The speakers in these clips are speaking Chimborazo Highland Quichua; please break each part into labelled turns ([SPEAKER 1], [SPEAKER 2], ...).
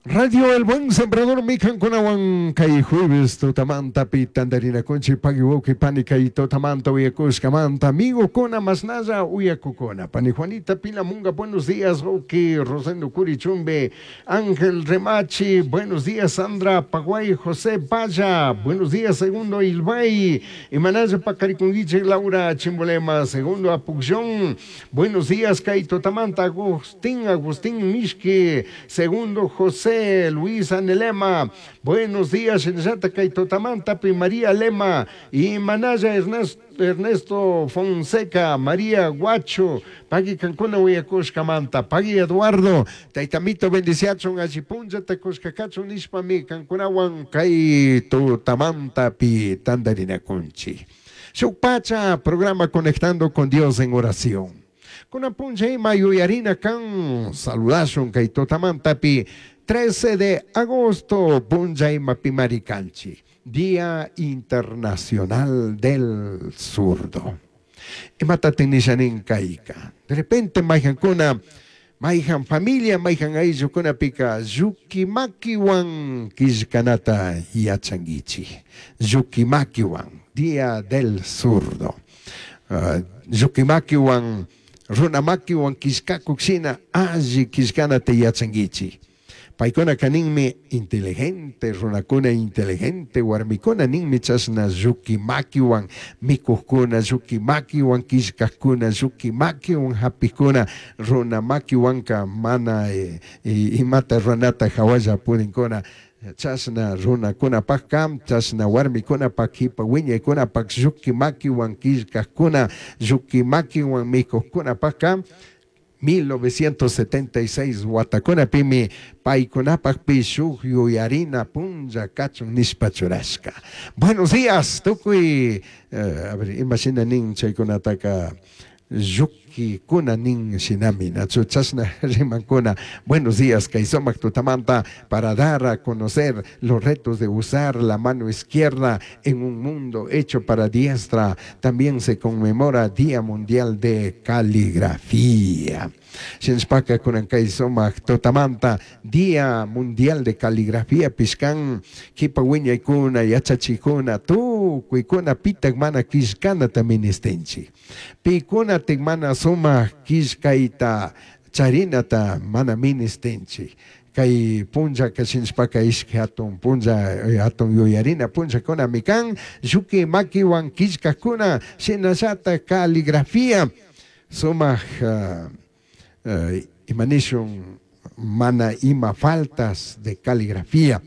[SPEAKER 1] Radio El Buen Sembrador mikankunawan kay jueves tutamantapi tantarinakunchik pagui wawqi pani kay tutamanta uyakushkamanta amigokuna masnalla uyakukuna. Pani Juanita Pilamunga, buenos días, wawqi Rosendo Curichumbe, Ángel Remachi, buenos días, Sandra Paguay, José Valla, buenos días, Segundo Ilbay, imanalla pakarikunkichik Laura Chimbolema, Segundo Apucllón, buenos días, kay tutamanta Agustín, Agustín Mishki, Segundo José Luis Anelema, buenos días, shinallata kay tutamantapi María Lema, imanalla Ernesto Fonseca, María Guacho, pagui kankuna uyakushkamanta, pagui Eduardo, taytamito bendiciachun alli punllata kushkakachun nishpami kankunawan kay tutamantapi tantarinakunchik. Shuk pacha programa Conectando con Dios en Oración. Kunan punlla ima yuyarina kan saludashun kay tutamantapi 13 de agosto punlla imapimari kanchik, Día Internacional del Zurdo. Imatatik nisha nin kayka? De repente mayjankuna, mayjan familia, mayjan ayllukunapika llukimakiwan killkanata yachankichik. Llukimakiwan, Día del Zurdo. Llukimakiwan, runamakiwan killkakuk shina alli killkanata yachankichik. Paykunaka ninmi inteligente runakuna, inteligente warmikuna ninmi chashna llukimakiwan mikukkuna, llukimakiwan killkakkuna, llukimakiwan hapikkuna, runamakiwanka mana imata ruranata hawalla pudinkuna. Chashna runakunapakka, chashna warmikunapak, kipa wiñaykunapak, llukimakiwan killkakkuna, llukimakiwan mikukkunapakka, 1976 watakunapimi paykunapakpi shuk yuyarina punlla kachun nishpa churashka. Buenos días, tukuy, a ver, imashina nin chaykunataka llukikuna nin shinami, nachu chashna rimankuna. Buenos días, kay sumak tutamanta para dar a conocer los retos de usar la mano izquierda en un mundo hecho para diestra. También se conmemora Día Mundial de Caligrafía. Shinshpaka kunan kay sumak tutamanta Día Mundial de Caligrafía pishkan kipa wiñaykuna yachachikuna tukuykuna pitak mana killkanata ministinchik. Pikuna tik mana sumak killkayta charinata mana ministinchik. Kay punlla kashinshpaka ishki hatun punlla, hatun yuyarina punllakunami kan, lluki makiwan killkakuna shinallata caligrafía sumak, imanishun mana ima faltas de caligrafía.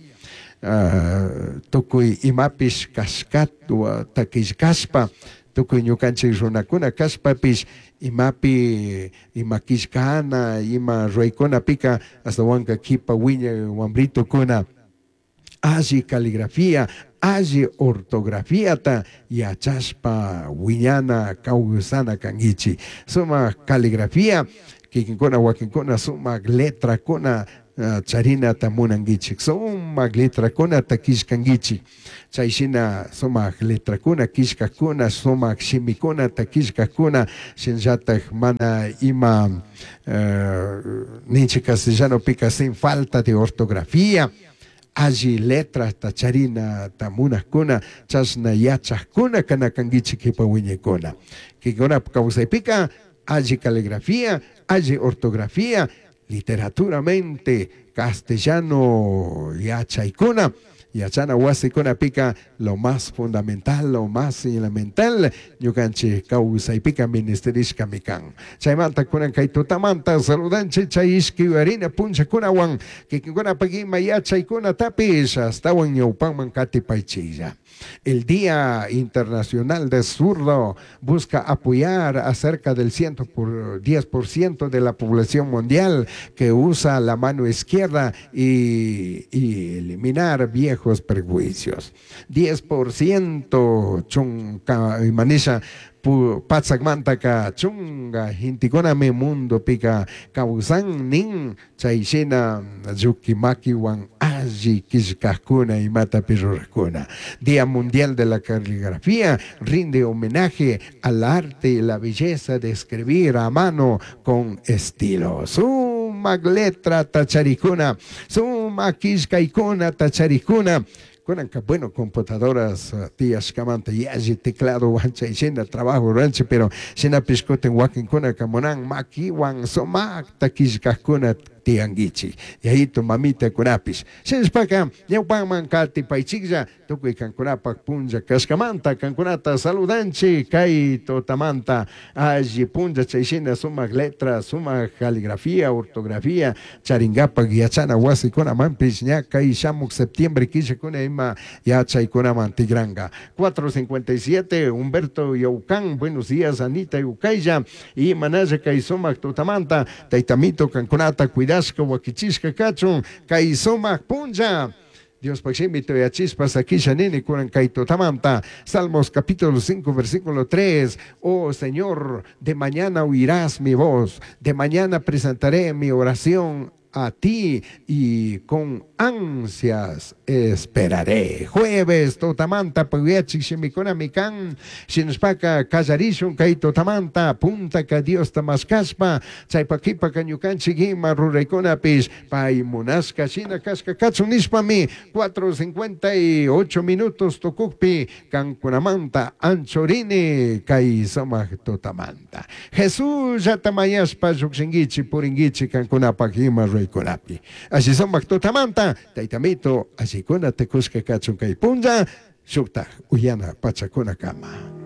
[SPEAKER 1] Tukuy imapish kashkata killkashpa, tukuy ñukanchik runakuna kashpapish imapi ima killkana ima ruraykunapika astawanka kipa wiñay wambritukuna alli caligrafía, alli ortografiata yachashpa wiñana kawsana kankichik. Sumak caligrafía, kikinkuna wakinkuna sumak letrakuna charinata munankichik, sumak letrakunata killkankichik. Chay shina sumak letrakuna killkakuna, sumak shimikunata killkakuna, shinallatak mana ima ninchik castellanopika sin falta de ortografía, alli letrata charinata munakuna, chashna yachakuna kanakankichik kipa wiñaykuna. Kikuna kawsaypika alli caligrafía, alli ortografía, literaturamente castellano yachaykuna, yachana wasikunapika lo más fundamental, lo más elemental, ñukanchik kawsaypika ministerishkami kan. Chaymanta kunan kay tutamanta saludanchik chay ishki yuyarina punllakunawan kikinkunapak ima yachaykunatapish astawan ñawpanman katipaychiklla. El Día Internacional del Zurdo busca apoyar a cerca del ciento por diez por ciento de la población mundial que usa la mano izquierda y eliminar viejos prejuicios. 10% chunka manisha patsakmantaka chunga hintikunami mundo pika kawsan nin chay shina llukimakiwan alli killkakuna imatapi rurakuna. Día Mundial de la Caligrafía rinde homenaje al arte y la belleza de escribir a mano con estilo. Sumak letra tacharikuna, sumak Sumac quillcaycunata charijcuna, Cunanca, bueno, computadoras tiyashcamanta yalli tecladohuan chay shina trabajo ruranchik, pero shinapish cutin huaquincunaca munan maquihuan sumacta quillcajcuna tiyanguichik, yayito mamitacunapish. Shinashpaca ñaupaman catipaichiklla, tucui cancunapac punlla cashcamanta cancunata saludanchik cay tutamanta alli punlla chay shina sumac letra, sumac caligrafía, ortografía charingapac yachana huasicunamanpish ña cay shamuc septiembre quillacuna ima yachaicunaman tigranga. 4:57 Humberto Yaucán, buenos días Anita Yucaylla y manalla cay sumac tutamanta Taytamito cancunata cuidashca huaquichishca cachun cay sumac punlla. Diospac shimi tuyachishpa saquisha nini cunan cay tutamanta. Salmos capítulo 5 versículo 3 Oh Señor, de mañana oirás mi voz, de mañana presentaré mi oración a ti y con ansias esperaré. Jueves tutamanta puyachik shimicunami can. Shinashpaca callarishun cay tutamanta puntaca Diosta mashcashpa chaipa quipaca ñucanchik ima ruraicunapish pai munashca shina cashca cachun nishpami 4:58 minutos tucujpi cancunamanta anchorini cay sumac tutamanta. Jesusllata mañashpa llujshinguichi puringuichi cancunapac ima ruraicunapi. Alli sumac tutamanta Taytamito allicuna tucushca cachun cay punlla shuktaj uyana pachacunacama.